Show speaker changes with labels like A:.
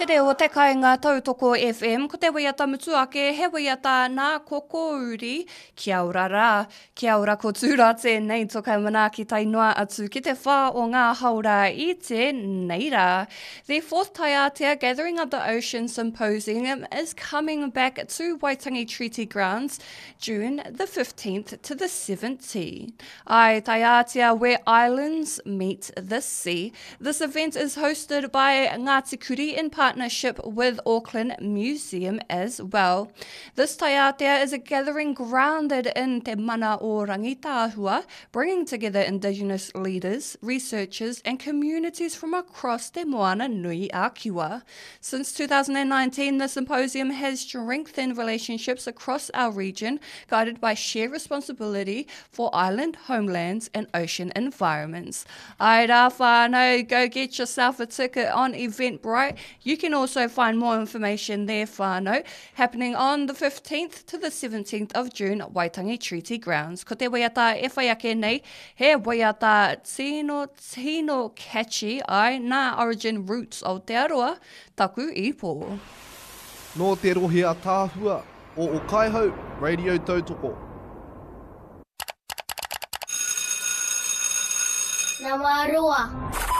A: Te reo o te kainga tautoko FM, ko te waiata mutu ake he waiata nā Kokouri, kia ora rā, kia ora ko Tūra tēnei toka manaaki tae noa atu ki te whā o ngā haora i tēnei rā. The fourth Taiātea Gathering of the Ocean Symposium is coming back to Waitangi Treaty Grounds June the 15th to the 17th. Ai, Taiātea where islands meet the sea. This event is hosted by Ngāti Kuri in partnership with Auckland Museum as well. This Taiātea is a gathering grounded in Te Mana o Rangitāhua, bringing together indigenous leaders, researchers and communities from across Te Moana Nui a Kiwa. Since 2019, the symposium has strengthened relationships across our region, guided by shared responsibility for island homelands and ocean environments. Ai rā whānau, go get yourself a ticket on Eventbrite. You can also find more information there whānau, happening on the 15th to the 17th of June, Waitangi Treaty Grounds. Ko te waiata e whai ake nei, he waiata tino, tino catchy, ai, nā Origin Roots Aotearoa, taku ipo.
B: Nō te rohe ataahua o Okaihau Radio Tautoko.
C: Nama roa.